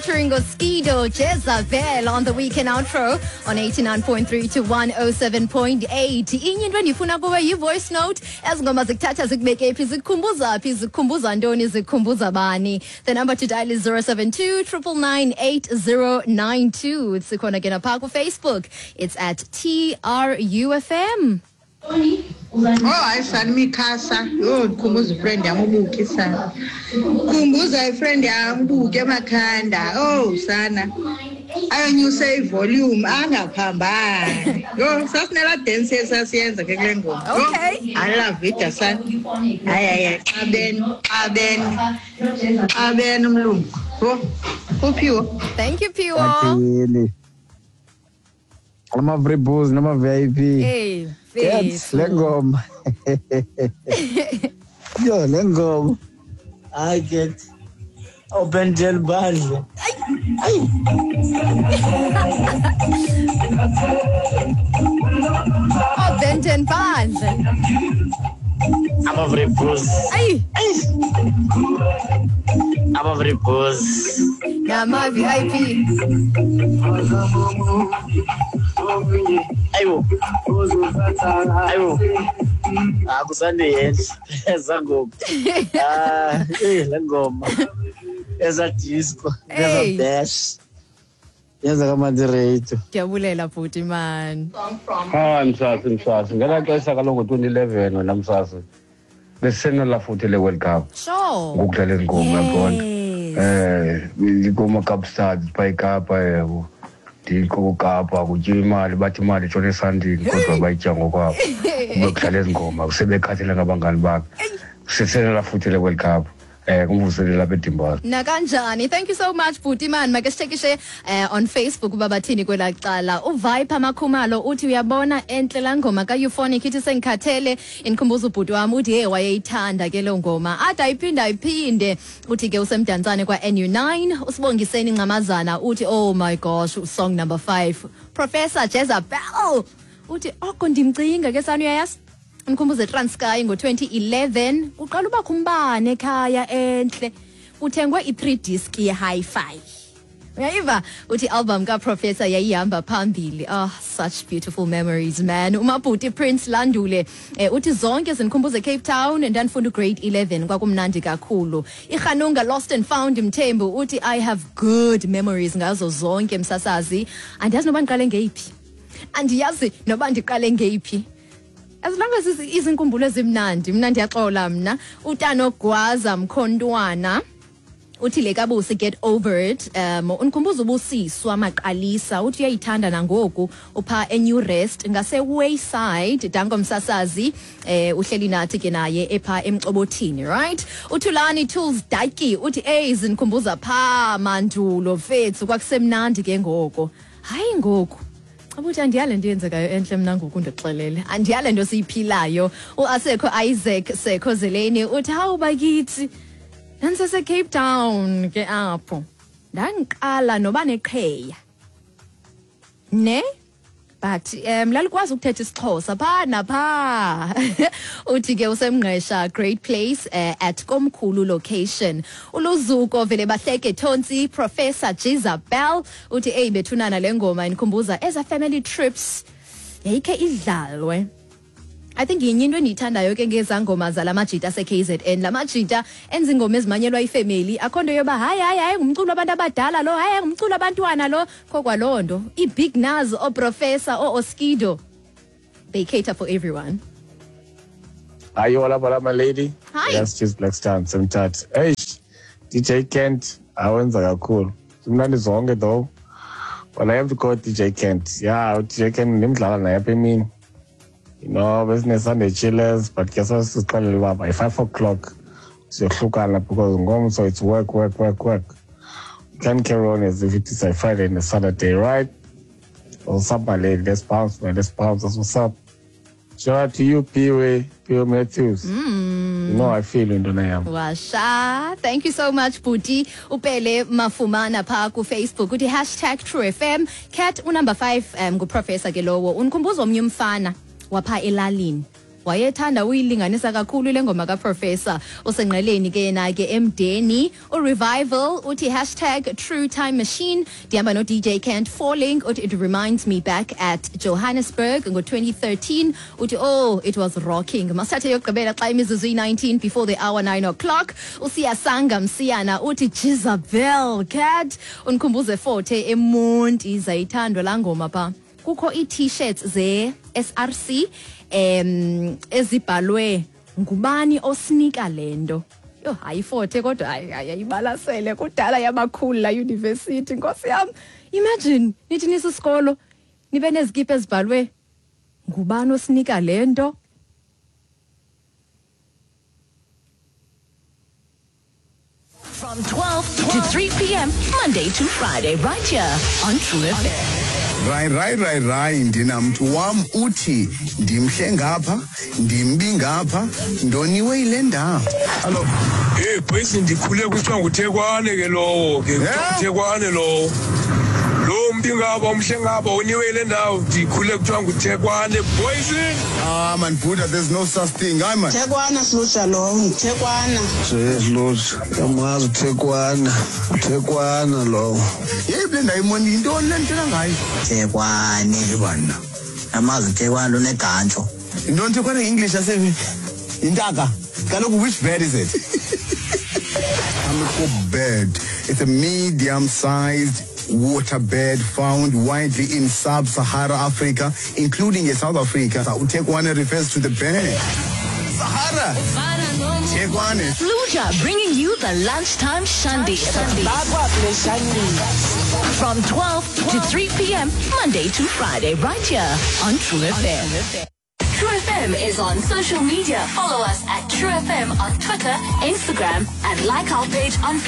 Featuring Oskido Jezabel on the weekend outro on 89.3 to 107.8. Inye into endifuna kuwe yi-voice note. Ezi ngoma zikuthatha zikubeke phi, zikukhumbuza phi, zikukhumbuza ntoni, zikukhumbuza bani. The number to dial is 072 999 8092. Sikhona ke napha ku-Facebook. It's at TRUFM. Oh hayi sana imikhasa yho ndikhumbuza ifriend yam ubuki sana khumbuza ifriend yam ubuki emakhanda owu sana ayonyuse ivolume angaphambani yho sasinelaa dance esasiyenza ke kule ngoma. Yho, Okay. I love it sana. Hayi hayi hayi, xabeni xabeni xabeni umlungu yho uphiwo. Thank you, Piwo. Athini ama-free booze nama-VIP. Hey, Yes, le ngoma, yo, le ngoma, hayi get open jail bandle. Oh, Benton Bandle. Ama-free booze. Ay, Ama-free booze. Nama VIP. Ayibo, ayibo, akusande yenhle ezangoku. Ah, eh, le ngoma eza disco, eza Hey. bash, yenza kamandi radio. Ndiyabulela bhuti man. Hayi msasi, msasi, ngelaa xesha kaloku ngo-2011 wena msasi besisenela futhi le World Cup. Ngokudlala ezi ngoma, yabona. Kooma-Kaapstad phaa eKapa, yabo, ndikokapa kutyiwa imali, bathi imali itshona esandini kodwa bayitya ngokwabo, kube kudlala ezi ngoma sebekhathele ngabangani bakhe, sisenela futhi le World Cup kumvuselela apha eDimbala. Nakanjani. Thank you so much bhuti man. Make sithekishe on Facebook uba bathini kwelaa cala. UViper Makhumalo uthi uyabona entle laa ngoma kaEuphonic ithi sengikhathele, indikhumbuza ubhuti wam, uthi hey wayeyithanda ke loo ngoma ade ayiphinde ayiphinde. Uthi ke usemdantsane kwa-NU9. Usibongiseni Ncamazana uthi oh my gosh, song number 5, Professor Jezabel, uthi oko ndimcinga ke sani, uyayazi umkhumbuze Transkei ngo-2011 uqala ubakho umbane ekhaya entle, kuthengwe i-3 disc ye-hi-fi, uyayiva. Uthi album kaProfessor yayihamba phambili. Oh, such beautiful memories, man. Umabhuti Prince Landule uthi zonke zindikhumbuze Cape Town, ndandifunda ugrade 11, kwakumnandi kakhulu. Irhanunga Lost and Found Mthembu uthi I have good memories ngazo zonke msasazi, andiyazi noba ndiqale ngeyiphi, andiyazi noba ndiqale ngeyiphi, as long as izinkumbulo ezimnandi, mna ndiyaxola mna. Utanogwaza Mkhontwana uthi le kaBusi, Get Over It, undikhumbuza uBusiswa Maqalisa, uthi uyayithanda nangoku, upha eNew Rest ngase-Wayside. Danko msasazi, uhleli nathi ke naye epha emcobothini. Right, uThulani Tools Daki uthi ey zindikhumbuza phaa mandulo mfethu, kwakusemnandi ke ngoko, hayi ngoku. Abuthi andiyale nto yenzekayo entle mna ngoku, ndixelele, andiyale nto siyiphilayo. UAsekho Isaac Sekho Zeleni uthi hawu bakithi, ndandisese-Cape Town ke apho ndandiqala noba neqheya ne, but lalikwazi ukuthetha isiXhosa phaa naphaa. Uthi ke usemngqesha Great Place at Komkhulu location. Uluzuko vele bahleke Thontsi, Professor Jezabel, uthi eyi bethunana le ngoma indikhumbuza eza family trips, yayikhe idlalwe. I think yinye into endiyithandayo ke ngezaa ngoma zala majita ase-KZN, la majita enza iingoma ezimanyelwa ifemeli, akho nto yoba hayi hayi hayi ngumculo wabantu abadala lo, hayi hayi ngumculo abantwana lo, kho kwaloo nto. Ii-Big Nuz, ooProfessor, oo-Oskido, they cater for everyone. Hi, you all up, my lady. Hi. Yes, just Black Star, Semthatha. Hey, DJ Kent, awenza kakhulu. Zimnandi zonke though. But I have to call DJ Kent. Yeah, DJ Kent ndimdlala naye apha emini. Besine Sunday chillers, but ke sasixelele uba by 5 o'clock siyohlukana because ngomso it's work, work, work, work. You can't carry on as if it is a Friday and a Saturday, right? What's up, my lady? Let's bounce, man. Let's bounce. That's what's up. Shout out to you, Piwe, Piwe Matthews. You know I feel into yam. Washa, thank you so much bhuti. Upele Mafumana phaa kuFacebook uthi #TrueFM cat unumber 5 nguProfessor ke lowo, undikhumbuza omnye umfana wapha elalini. Wayethanda uyilinganisa kakhulu le ngoma kaProfessor. Usengqeleni ke yena ke emdeni. URevival uthi hashtag true time machine. Ndihamba no-DJ Kent Falling uthi it reminds me back at Johannesburg ngo-2013. Uthi oh, it was rocking. Masithathe yokugqibela xa imizuzu iyi-19 before the hour 9 o'clock. Usiyasanga Msiyana uthi Jezebel Cat undikhumbuze Forte eMonti, zayithandwa laa ngoma pha. Kukho ii-T-shirts ze-SRC ezibhalwe ngubani osinika le nto. Yho, hayi Forte kodwa hayi ayibalasele kudala yabakhulu la university, nkosi yam. Imagine nithi nisisikolo nibe nezikipa ezibhalwe ngubani osinika le nto. From 12 to 3 p.m., Monday to Friday, right here on True FM. Rai rai rai rai, ndinamntu wam uthi ndimhle ngapha, ndimbi ngapha, ndoniwe yile ndawo. Hallo. Hey boys, ndikhule kuthiwa nguThekwane ke lowo ke, nguThekwane lowo. Lo mbi ngapha, umhle ngapha, uniwe yile ndawo, ndikhule kuthiwa nguThekwane boys. Ah man, Buddha, there's no such thing. Hayi man. Thekwana Slutsha lowo, nguThekwana. Slutsha, yamazi uThekwana, uThekwana lowo. Yeyiphi le ndawo imoni, yintoni le ndithetha ngayo? Thekwane. Yebana. Yamazi uThekwana unegantsho. Yintoni Thekwane nge-English yase yintaka? Kaloku which bird is it? Hamerkop bird. It's a medium-sized water bird found widely in sub-Sahara Africa, including in South Africa. Uthekwane refers to the bird. Sahara. Thekwane. Sluja bringing you the lunchtime shandy. From 12 to 3 p.m., Monday to Friday, right here on True FM. True FM is on social media. Follow us at True FM on Twitter, Instagram, and like our page on